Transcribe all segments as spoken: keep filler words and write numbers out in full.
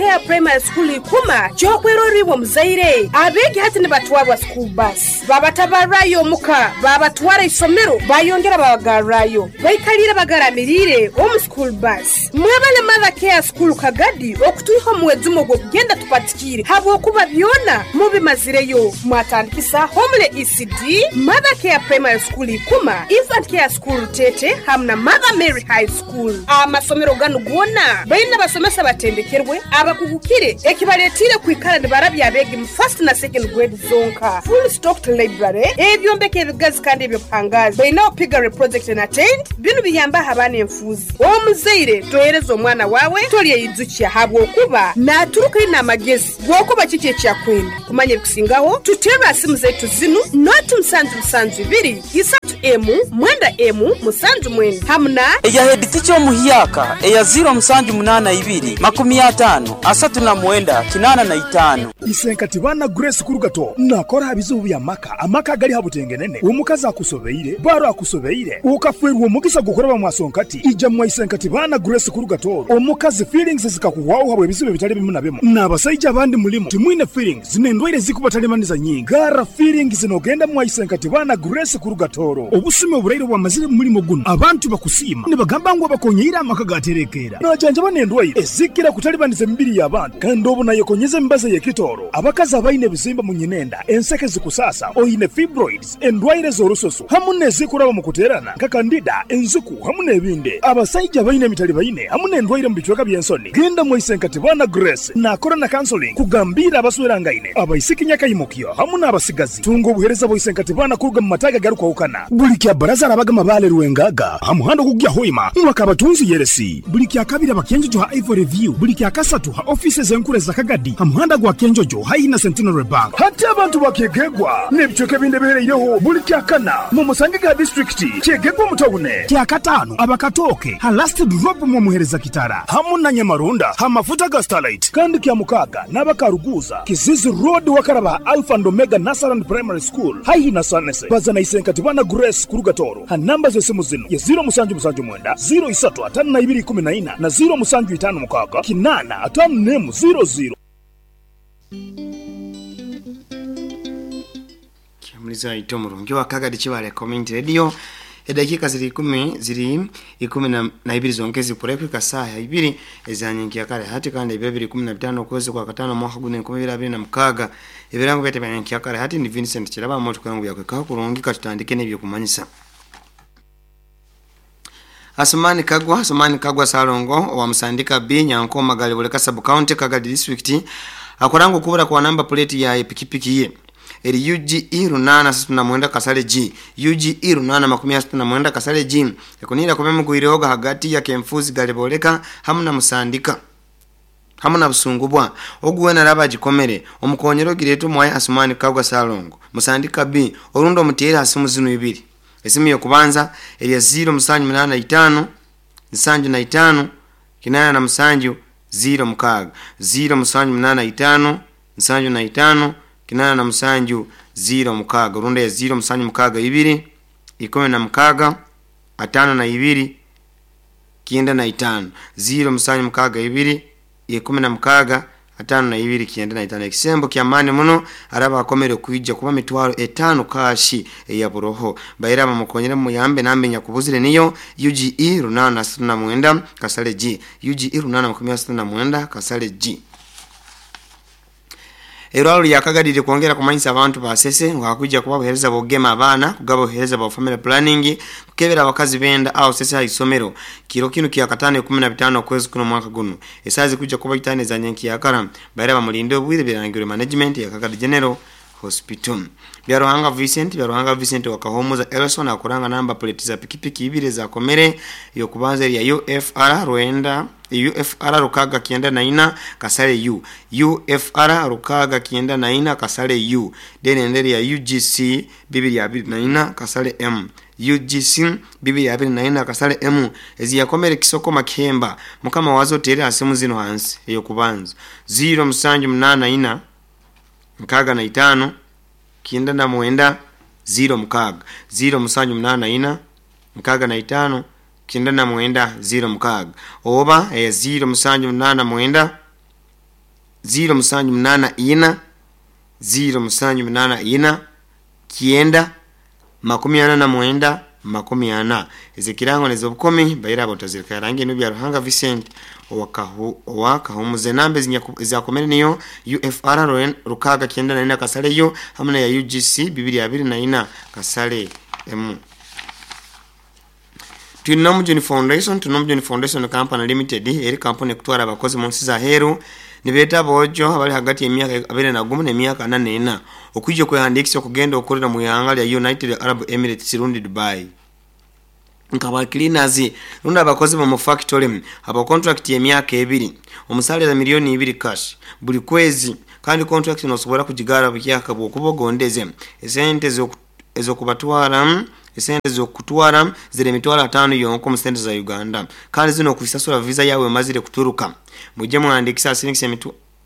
Care Primary School ikuma kyokweroribwa muzaire abegi hati nibatwarwa school bus babatabarayo omuka babatwara isomero bayongera babagarrayo baikalire bagaramirire omu school bus. Mwebale Mother Care School Kagadi okutuiho muwezumo gwokugenda tupatikire habwokuba byona mubimazireyo. Mwatandikisa Homele E C D, Mother Care Primary School ikuma, Infant Care School Tete hamna Mother Mary High School. Amasomero ganu gwona baina basomesa batendekerwe abakugukire ekibaletire kwikara nibarabya abegi mu first na second grade zonka. Full stocked library ebyombeko ebigazi kandi ebyobuhangazi baina opigare project na tent binu biyamba abaana enfuzi. Omuzaire tohereza omwana wawe tolyeyizukia habwokuba naturuka ina amagezi gwokuba kiki ekyakwenda kumanya ebikusingaho tutera simu zetu zinu noti musanju musanju ibiri isatu emu mwenda emu musanju mwenda hamna eya head teacher omuhiyaka eya zero musanju munana ibiri makumi atano asatu na mwenda kinana na itano. Isenkati bana Grace Kurugato nakora bizubu bya maka amaka gali habutengenene omukazi akusobeire baro akusobeire ukafwerwa omugisa gukoraba mwasonkati ija mwa Isenkati bana Grace Kurugato omukazi feelings zikakuwaho habwe bizubu bitali bimu na bimu n'abasajja abandi mulimu timwine feelings zinendwaire zikubatalemaniza nyingi gara feelings zinogenda mwa Isenkati bana Grace Kurugatoro obusime oburaire bwamazire mulimo guno abantu bakusima nibagamba ngo bakonyeira amaka gaterekera najanja banendwaire ezikira kutalibaniza emibiri y'abantu kandi obu nayekonyeza embaza y'ekitoro abakazi abaine ebizimba mu nyinenda enseke zikusasa oyine fibroids endwaire z'orusoso hamu nezikuraba mu kuterana nka kandida enzuku hamu n'ebindi abasajja baine emitali baine hamu n'endwaire mu bicweka by'ensoni. Genda mu Isenkati bana Grace nakora na counseling kugambira abaswerangaine abaisiki nyakayimukyo hamu n'abasigazi tunga obuhereza bwa Isenkati bana kuruga mu mataga garukwahukana buli kya baraza arabaga mabale ruwengaga hamuhando kugya hoima mwakabatunzi yeresi buli kya kabiri abakenjojo ha Ivory View buli kya kasatu ha offices enkure za Kagadi hamuhanda gwa Kenjojo haina Centenary Bank hati abantu bakegegwa n'ebicweka ebindi bihereireho buli kya kana mu musange ga district kyegegwa mutawune kya katano abakatoke ha last drop mu muhereza kitara hamu na Nyamarunda ha mafuta ga Starlight kandi kya mukaga n'abakaruguza Kizizi Road wakaraba Alpha and Omega Nasaran Primary School haihi na Sanese bazana Isenkati bana Grace Kurugatoro ha namba z'esimu zino ya zero musanju musanju mwenda zero isatu atano na ibiri kumi na ina na zero musanju itano mukaga kinana atano nemu zero zero. Kiamuliza ito murungi wa Kagadi Chibale Community Radio edakika ziri kumi ziri ikumi na, na ibiri zongezi kurekwika saa ya ibiri ezanyingi kare hati kandi ibiri kumi na bitano kwezi kwa katano mwaka gune nkumi bibiri na mukaga ebirango byete byanyangi kare hati ni Vincent Kiraba moto kangu yakweka kurungi katutandike n'ebyo kumanyisa. Asumani Kagwa Asumani Kagwa Salongo wa Musandika B Nyankoma Galibuleka Sub County Kagadi District akorango kubura kwa namba plate ya pikipiki ye eri U G E runana satu na mwenda kasale G U G E runana makumi asatu na mwenda kasale G ekunira kubemugwireoga hagati ya Kemfuzi Galiboleka hamu na Musandika hamu na Busungubwa oguwena raba jikomere omukonyero gireto mwaye Asumani Kagwa Salongo Musandika B orundo mutera asimu zinu ibiri esimu yokubanza eri ya zero musanju munana itano nsanju na itano kinana na musanju zero mukaga zero musanju munana itano nsanju na itano kinana na musanju zero mukaga urunda ya zero musanju mukaga ibiri ikumi na mukaga atano na ibiri kienda na itano zero musanju mukaga ibiri ikumi na mukaga atano na ibiri kienda na itano. Ekisembo kya mani muno araba akomere kuija kuba mitwaro etano kashi eya buroho baira bamukonyera muyambe nambe nyakubuzire niyo U G E runana satu na mwenda kasale G U G E runana makumi asatu na mwenda kasale G. Erwalo lya Kagadi kuongera kumanyisa abantu basese ngakujja kuba buhereza bogema abana kugaba buhereza bwa family planning kukebera abakazi benda au sese ha isomero kiro kino kya katano kumi na bitano kwezi kuno mwaka guno esazi kujja kuba itane za nyenki ya kara baira bamulinde obwire birangiro management ya Kagadi General Hospital. Byaruhanga Vincent Byaruhanga Vincent wakahomoza Elson akuranga namba plate za pikipiki ibiri za komere yo kubanza ya U F R Rwenda U F R Rukaga kienda na ina kasale U U F R Rukaga kienda na ina kasale U then enderi ya U G C bibiri ya bibiri na ina kasale M U G C bibiri ya bibiri na ina kasale M ezi yakomere kisoko makemba mukama wazo tere asimu zino hansi eyo kubanza zero musanju munana ina mkaga na itano kienda na mwenda zero mkaga zero musanju munana ina mkaga na itano kienda na mwenda zero mkaga oba eh, zero musanju munana mwenda ziro musanju munana ina ziro musanju munana ina kyenda makumi ana na mwenda makumi ana. Ezikirango nezobukomi baira abotazirika rangi eno bya Ruhanga Vincent owakahu owakahumuze nambe ezakomere niyo U F R rukaga kyenda na ina kasale yo hamwe na ya U G C bibiri abiri na ina kasale M. Tunomujuni Foundation Tunomujuni Foundation Company Limited eri kampuni kutwara abakozi mu nsi za heru nibeta bojo abali hagati y'emyaka abiri na gumu n'emyaka ana n'ena okwijja kwehandiikisa okugenda okolera mu ihanga lya United Arab Emirates rundi Dubai nkaba cleaners rundi abakozi mu factory aba contract y'emyaka ebiri omusalira miliyoni ibiri cash buli kwezi kandi contract nosobola kugigara bukyaka bwokubogondeze esente ezokubatwara esente zokutwara zire mitwaro atano yonko mu sente za Uganda kandi zino kusasura visa yawe mazire kuturuka mujye mwandikisa sinikisa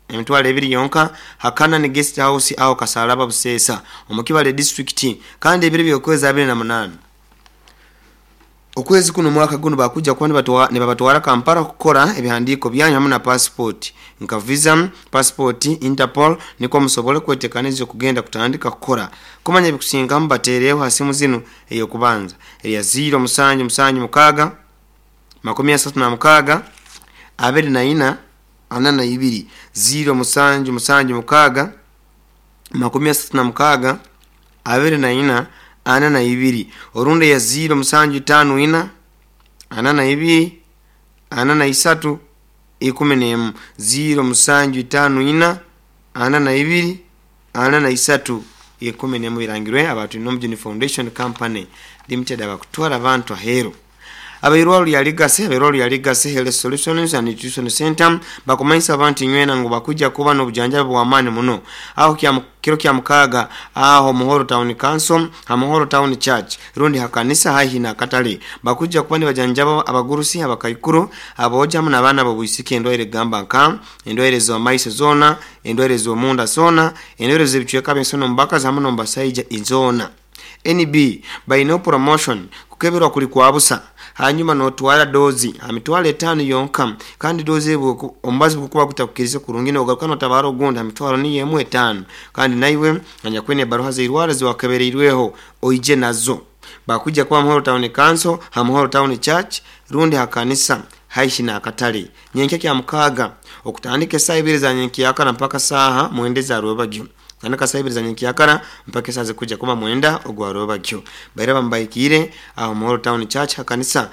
emitwalo ebiri yonka hakana ni guest house aho Kasalaba Busesa omukibale district kandi ebiri byokwezi abiri na munana okwezi kuno mwaka guno bakuja kwani batwa ne babatwara Kampala kukora ebihandiko byanyu hamwe na passport nka visa passport Interpol niko musobole kwetekaniza kugenda kutandika kukora kumanya bikusinga mbatereho hasimu zino eyo kubanza eya zero musanju musanju mukaga makumi asatu na mukaga abiri na ina ana na ibiri zero musanju musanju mukaga makumi asatu na mukaga abiri na ina ana na ibiri orunde ya zero musanju tano ina ana na ibiri ana na isatu ikumi n'emu zero musanju tano ina ana na ibiri ana na isatu ikumi n'emu birangirwe abantu Nomujuni Foundation Company Limited abakutwara abantu ahero abairwalu ya Legacy abairwalu ya Legacy Health Solutions and Nutrition Center bakumanyisa abantu nywena ngo bakuja kuba n'obujanjabi bw'amaani muno aho kya kiro kya mukaga aho Muhoro Town Council ha Muhoro Town Church rundi hakanisa haihi na katale bakuja kuba ni bajanjaba abagurusi abakaikuru aboja mu n'abaana bobwisike endwaire gamba nka endwaire z'amaiso zona endwaire z'omunda zona endwaire z'ebicweka by'ensono mbaka zamu n'ombasaija izona N B by no promotion kukeberwa kuli kwabusa hanyuma notwara dozi amitwale etano yonka kandi dozi ebwo ombazi bukuba kutakukirize kurungi nogaruka notabara ogunda amitwalo ni yemu etano kandi naiwe anyakwene baruha zeirwara ziwakebereirweho oije nazo bakuja kwa Muhoro Town Council ha Muhoro Town Church rundi hakanisa haishi na akatale nyenke kya mukaga okutandika saa ibiri za nyenke yakana mpaka saha mwende za rwebagyo Tanaka saa ibiri za nyenke yakana mpaka saa zikuja kuba mwenda ogwa rwebagyo baira bambaikire aho Muhoro Town Church hakanisa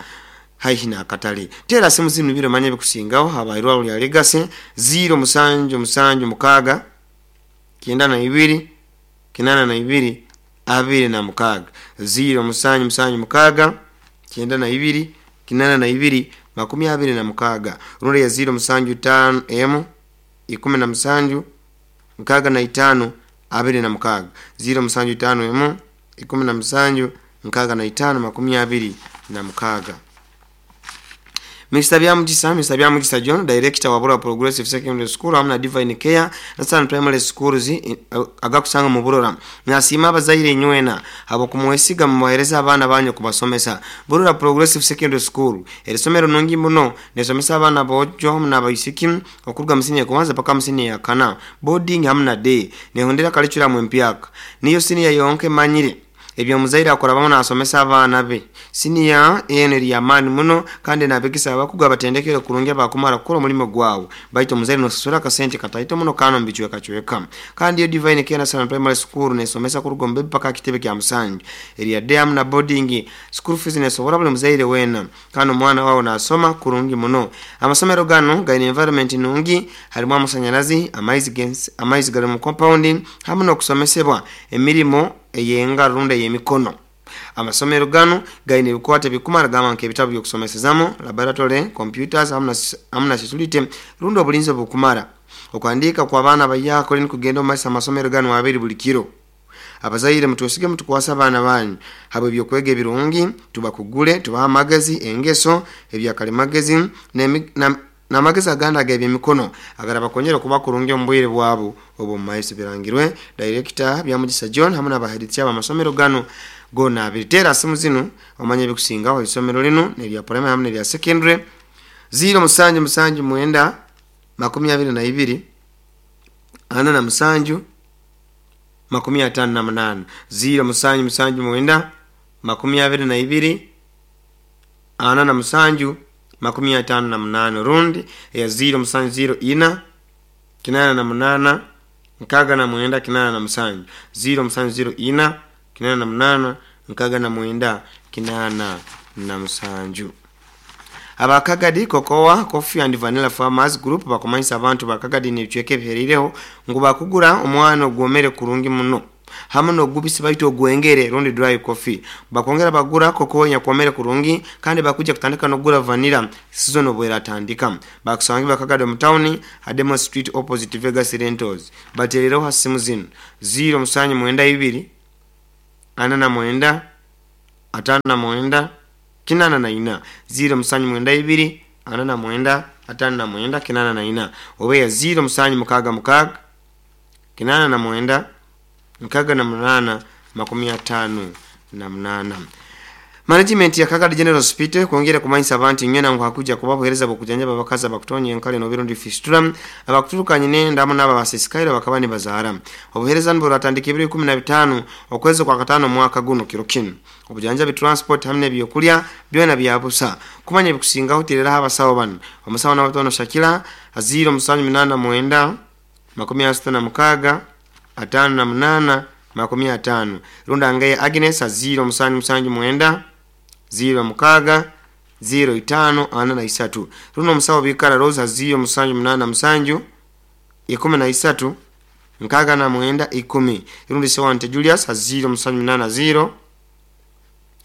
haihi na akatale tera simu zinu biro manye bikusingaho habairwa lya Legacy zero musanju musanju mukaga kyenda na ibiri kinana na ibiri abiri na mukaga zero musanju musanju mukaga kyenda na ibiri kinana na ibiri makumi abiri na mukaga runde ya zero musanju tano emu ikumi na musanju mukaga na itano abiri na mukaga zero musanju tano emu ikumi na musanju mukaga na itano makumi abiri na mukaga. Mister Byamugisa, Mister Byamugisa John, Director wa Burora Progressive Secondary School hamwe na Divine Care na San Primary Schools agakusanga mu Burora. Nasima abazaire nywena abo kumwesiga mu muhereza abana banyu kubasomesa. Burora Progressive Secondary School erisomero nungi muno nesomesa abana bojo hamwe n'abaisiki okuruga mu senior kubanza paka mu senior ya kana. Boarding hamwe na day nehondera curriculum empyaka. Niyo senior yonke manyire ebyo muzaire akora bamwe nasomesa abaana be senior eno eri yamaani muno kandi nabegesa abakugu abatendekere kurungi abakumara kukora omulimo gwawe baitu omuzaire nosasura akasente kataito muno kano mubicwekacweka kandi iyo Divine Care National Primary School nesomesa kuruga omu bebi paka kitebe kya musanju eri ya day hamu na boarding school fees nesobora buli muzaire weena kandi omwana wawe nasoma kurungi muno. Amasomero gano gaine environment nungi harimu amasanyarazi amaizi amaizi gari mu compound hamwe n'okusomesebwa emirimo eyenga runda y'emikono. Amasomero gano gaine ebikwate bikumara gamba nk'ebitabo by'okusomesezamu laboratory computers hamwe na security runda obulinzi obukumara okuhandiika kw'abaana bayakole nikugenda omu maiso amasomero gano abiri buli kiro. Abazaire mutwesige mutukwasa abaana banyu habwe ebyokwega ebirungi tubakugule tubaha amagezi engeso ebyakalimagezi n'amagezi agandi ag'ebyemikono agarabakonyera kuba kurungi omu bwire bwabo obwo mu maiso. Birangirwe Director Byamugisa John hamwe n'abaheritsi ab'amasomero gano gona abiri. Tera simu zinu omanye ebikusingaho isomero linu nerya primary hamwe nerya secondary zero musanju musanju mwenda makumi abiri na ibiri ana na musanju makumi atano na munana ziro musanju musanju mwenda makumi abiri na ibiri ana na musanju makumi atano na munana rundi ya ziro musanju ziro ina kinana na munana nkaga na mwenda kinana na musanju ziro musanju ziro ina kinana na munana nkaga na mwenda kinana na musanju. Abakagadi Cocoa Coffee and Vanilla Farmers Group bakumanyisa abantu bakagadi n'ebicweka ebiherireho ngu bakugura omwana ogwomere kurungi muno hamwe n'ogubisi baitu ogwengere rundi dry coffee. Bakwongera bagura cocoa nyakwomere kurungi kandi bakuja kutandika n'okugura vanilla season obweratandika. Bakusangi bakagadi omu town Hademo Street opposite Vegas Rentals. Baterereho ha simu zino ziro musanju mwenda ibiri ana na mwenda atano na mwenda kinana na ina ziro musanju mwenda ibiri ana na mwenda atano na mwenda kinana na ina obeya ziro musanju mukaga mukaga kinana na mwenda nkaga na munana makumi atano na munana. Management ya Kagadi General Hospital kwongera kumanyisa abantu nywena ngu hakuja kubabuhereza bokujanja abakazi abakutonya enkale n'obirundi fistula abakuturukanye n'endamu n'aba basisikaire bakaba nibazaara. Obuhereza niburatandika ebiro ikumi na bitano okwezi kwa katano mwaka guno kiro kinu. Obujanja transport hamwe n'ebyokulya byona byabusa. Kumanya ebikusingaho tereraho abasawo bano. Omusawo n'abatono Shakira ziro musanju munana mwenda makumi asatu na mukaga atano na munana makumi atano. Runda ngaye Agnes ziro musanju musanju mwenda ziro mukaga ziro itano ana na isatu. Runo musawo bikara Rosa ziro musanju munana musanju ikumi na isatu nkaga na mwenda ikumi. Rundi sewante Julius ziro musanju munana ziro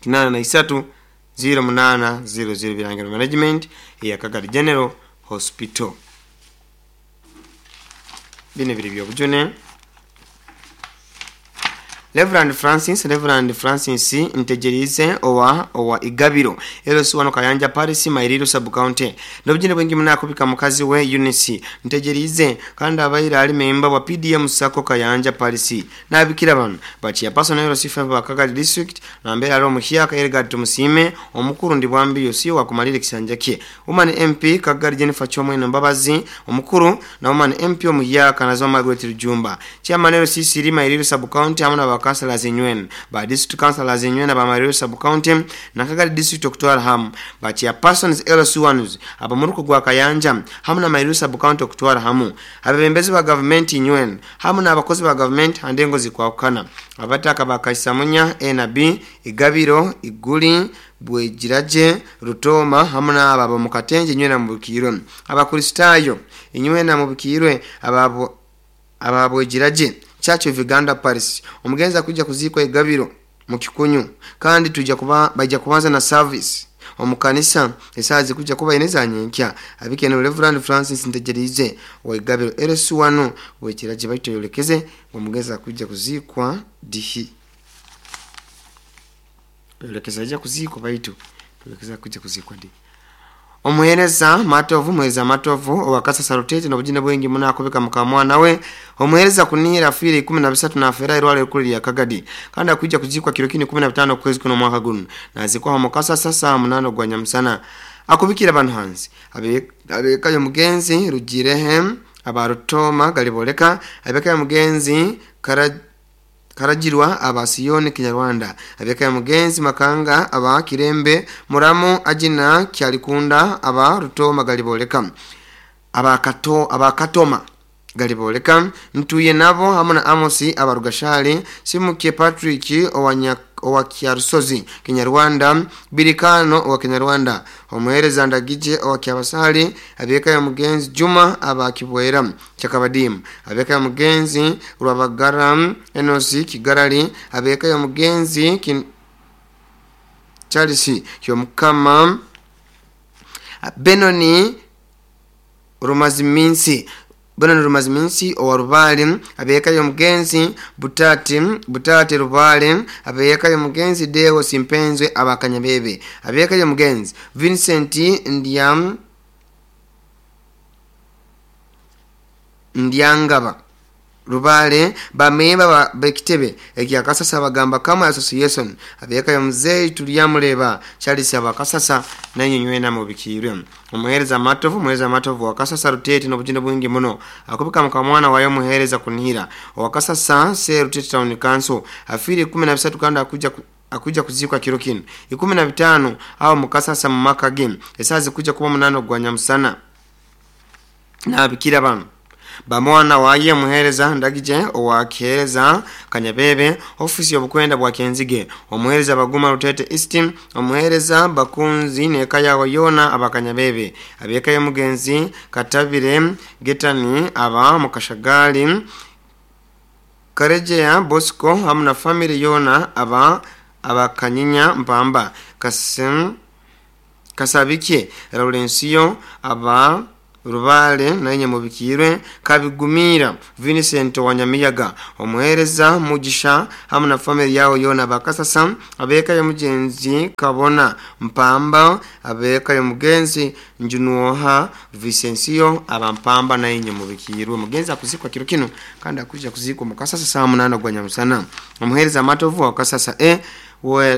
kinana na isatu ziro munana ziro ziro. Birangiro management ya Kagadi General Hospital. Bino biri byobujune. Reverend Francis Reverend Francis Ntegerize owa owa Igabiro L C wano Kayanja Paris Mairiro sub county nobujine bwengi munakubika mukazi we Eunice Ntegerize kandi abaira ali member wa P D M Sako Kayanja Paris nabikira bano bachiya personal L C five wa Kagadi district na mbere alo muhyaka Elgard Tumusime omukuru ndi bwambi yosiyo wakumalira kisanja kye Woman M P Kagadi Jennifer Chomwe Mbabazi omukuru na Woman M P omuhyaka nazo Margaret Rujumba chairman L C three Mairiro sub county amuna ba councillors nywen ba district councillors nywen ba Mairiro sub county na Kagadi district okutwara hamu ba chairpersons L C ones abamuruko gwa Kayanja hamu na Mairiro sub county okutwara hamu abebembezi ba government nywen hamu na abakozi ba government andengo zikwakana abataka bakaisamunya A na B Igabiro Iguli Bwegiraje Rutoma hamu na ababo mukatenje nywena mubukirwe abakristayo inywena mubukirwe ababo ababwegiraje Church of Uganda Paris omugenza kujja kuzikwa Igabiro mu Kikunyu kandi tujja kuba bajja kubanza na service omukanisa esazi kujja kuba ineza nyenkya abikene Reverend Francis Ntegerize wa Igabiro L C one bwekiraje baitoyolekeze omugenza kujja kuzikwa dihi yolekeza ajja kuzikwa baitu yolekeza kujja kuzikwa dihi. Omuhereza Matovu muhereza Matovu owakasa sarutete n'obujina bwengi munakubika mukamwana we omuhereza kunira afire ikumi na bisatu na afera irwale rukuru ya Kagadi kandi akujja kuzikwa kiro kini kumi na bitano kwezi kuno mwaka guno nazikwa mukasa sasa munano gwa nyamusana akubikira abantu hanze abekayo mugenzi Rugirehe abarutoma galiboleka abekayo mugenzi kara Karajirwa abasiyoni Kinyarwanda abeka mugenzi Makanga aba Kirembe Muramu Ajina Kyalikunda aba Rutoma galiboleka abakato abakatoma galiboleka ntuye nabo hamwe na Amosi abarugashali Simuke Patrick owanya owa Kyarusozi Kinyarwanda Birikano owa Kinyarwanda omuhereza Ndagije owa Kyabasali abeka ya mugenzi Juma aba Kibwera Kyakabadimu abeka ya mugenzi Rwabagara Enosi Kigarali abeka ya mugenzi Kin... Charles Kyomukama Benoni Rumaziminsi Benoni Rumaziminsi owa Rubali abeka ya mugenzi Butati Butati Rubali abeka ya mugenzi Deo Simpenzwe abakanyabebe abeka ya mugenzi Vincent Ndiam Ndiangaba Rubale bamemba bekitebe ekya Kasasa bagamba kama association abeka ya mzee tuliyamuleba Charles abakasasa nanyi nywena mubikirwe omuhereza matovu muhereza matovu wakasasa Rutete n'obujinda bwingi muno akubika mukamwana wayo muhereza kunihira wakasasa se Rutete Town Council afiri kumi na bisatu kanda akuja akuja kuzikwa kiro kino ikumi na bitano aho mukasasa mu maka game esazi kuja kuba munano gwa nyamusana nabikira bano bamwana waye muhereza ndagije owakihereza Kanyabebe ofisi y'obukwenda bwa Kenzige omuhereza baguma Rutete East omuhereza bakunzi neka yawo yona abakanyabebe abeka ya mugenzi Katabire Getani aba mukashagali Karejea Bosco hamna family yona aba abakanyinya mpamba Kasem Kasabike Laurencio aba Rubale na mubikirwe Kabigumira Vincent Wanyamiyaga omuhereza Mugisha hamwe na family yao yona bakasasa abeka ya mugenzi Kabona Mpamba abeka ya mugenzi Njunuoha Vicencio abampamba na mubikirwe mugenzi akuzikwa kiro kino kandi akuja kuzikwa mukasasa saa munana gwa nyamusana omuhereza matovu wakasasa e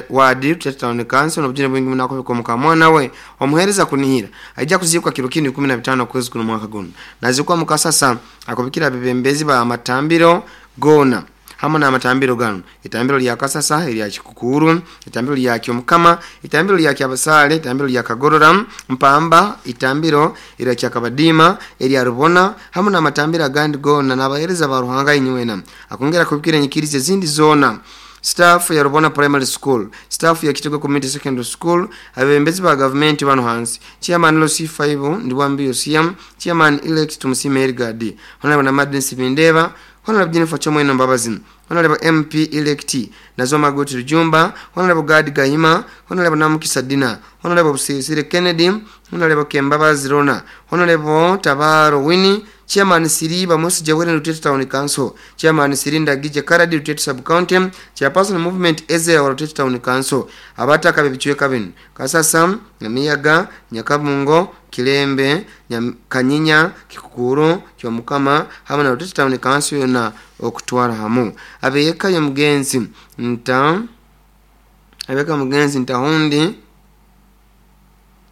wadi Rutete Town Council n'obujine bwingi munako mukamwana we omuhereza kunihira aija kuzikwa kiro kino kumi na bitano kwezi kuno mwaka guno nazikwa mukasasa akubikira bebembezi ba matambiro gona hamwe na matambiro gano itambiro lya Kasasa lya Kikukuru itambiro lya Kyomukama itambiro lya Kyabasale itambiro lya Kagorora Mpamba itambiro lya Kyakabadima lya Rubona hamwe na matambiro agandi gona n'abahereza ba Ruhanga inywena akongera kubikira nyikirize zindi zona staff ya Rubona Primary School, staff ya Kitego Community Secondary School, abembezi ba government bano hansi, chairman L C five Ndiwambi Yosiam, chairman elect Tumusime Ergadi, honorable Namadin Sibindeba, honorable Jennifer Chomweno Mbabazi, honorable M P elect Nazoma Goti Rujumba, honorable Gad Gahima, honorable Namukisa Dina, honorable Sisire Kennedy, honorable Kembabazi Rona, honorable Tabaro Winnie, chairman Siriba Musi Jawere Rutete Town Council, chairman Sirinda Gije Karadi Rutete Sub County, chairperson movement Eze wa Rutete Town Council, abataka bebichweka bino Kasasa, Nyamiyaga, Nyakabungo, Kilembe, Nyam, Kanyinya, Kikukuru, Kyomukama hamwe na Rutete Town Council yona okutwara hamu abeyeka ya mugenzi nta abeka mugenzi ntahundi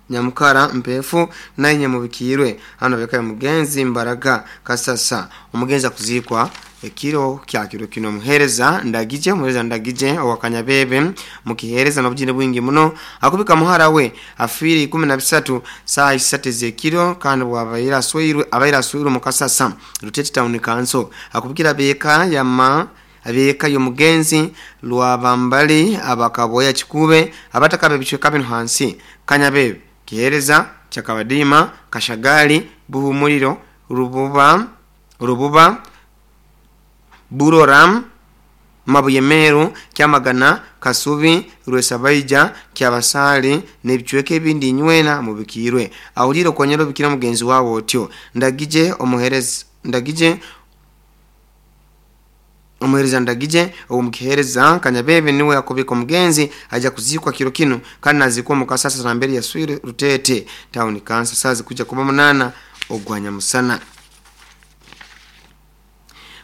Nyamukara mpefu na nyamubikirwe hano beka mugenzi Mbaraga Kasasa umugenzi akuzikwa ekiro kya kiro kino muhereza ndagije muhereza ndagije wakanyabebe mukihereza n'obujine bwingi muno akubika muhara we afiri kumi na bisatu saa isatu zekiro kandi bwabaira aswirwe abaira aswirwe mukasasa Rutete Town Council akubikira beka yama abeka yo mugenzi lwabambali abakaboya kikube abatakabe bichweka bino hansi Kanyabebe Kihereza Chakabadima Kashagali Buhumuriro Rububa Rububa Buroram Mabuyemeru Kyamagana Kasubi Rwesabaija Kyabasali nebichweke ebindi nywena mubikirwe awuliro kwanyero bikira mugenzi wawo otyo ndagije omuhereza ndagije omuhereza ndagije omukihereza Kanyabebe niwe akobika mugenzi aja kuzikwa kiro kino kandi nazikwa mukasasa na mbere ya Swire Rutete Town Council sazi kuja kuba munana ogwanya musana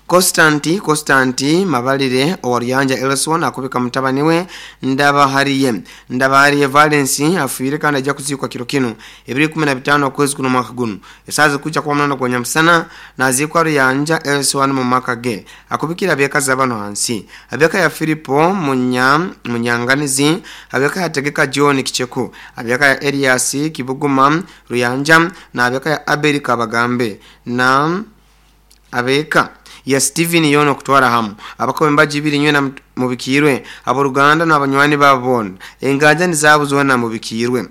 Constanti Constanti Mabalire owariyanja Elson akubika mutabani we Ndabahariye Ndabahariye Valence afuire kandi aja kuzikwa kiro kino ebiri kumi na bitano kwezi kuno mwaka guno esazi kuja kwa munana kwa nyamusana nazikwa Ruyanja Elson mu maka ge akubikira beka zabano hansi abeka ya Filipo munya munyanganizi abeka ya Tegeka John Kicheku abeka ya Elias Kibuguma Ruyanja na abeka ya Abeli Kabagambe na abeka ya Steven yono kutwara hamu abako mbaji ibiri nywena mubikirwe abo Ruganda n'abanywani babona engaja nizabuzona mubikirwe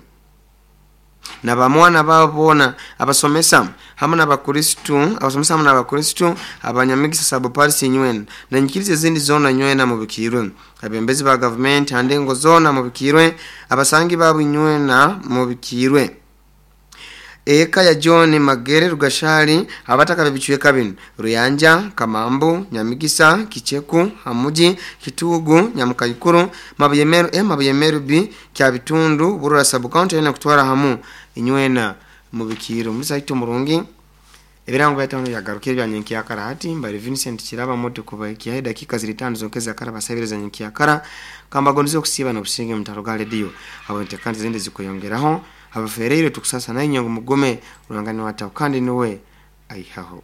na bamwana babona abasomesa hamwe n'abakristo abasomesa hamwe n'abakristo abanyamigisa sabo parisi nywena na nyikirize zindi zona nywena mubikirwe abembezi ba government handengo zona mubikirwe abasangi babo nywena mubikirwe Eka ya John Magere Rugashali abataka bebichweka bino Ruyanja Kamambu Nyamigisa Kicheku Hamuji Kitugu Nyamukayikuru Mabuyemeru E Mabuyemeru B Kyabitundu Burura Sub County na kutwara hamu inywena mubikiro musaito murungi Ebirango byatano yagaruka ebya nyenkyakara hati mbali Vincent Kiraba moto kubaikya dakika ziri tano zonkeza kara basabiriza nyenkyakara kambagonizo kusiba n'obusinge mutaro ga radio abo ntekandi zindi zikuyongeraho abafereire tukusasa nayo nyangu mugome urangani wataho kandi niwe aihaho.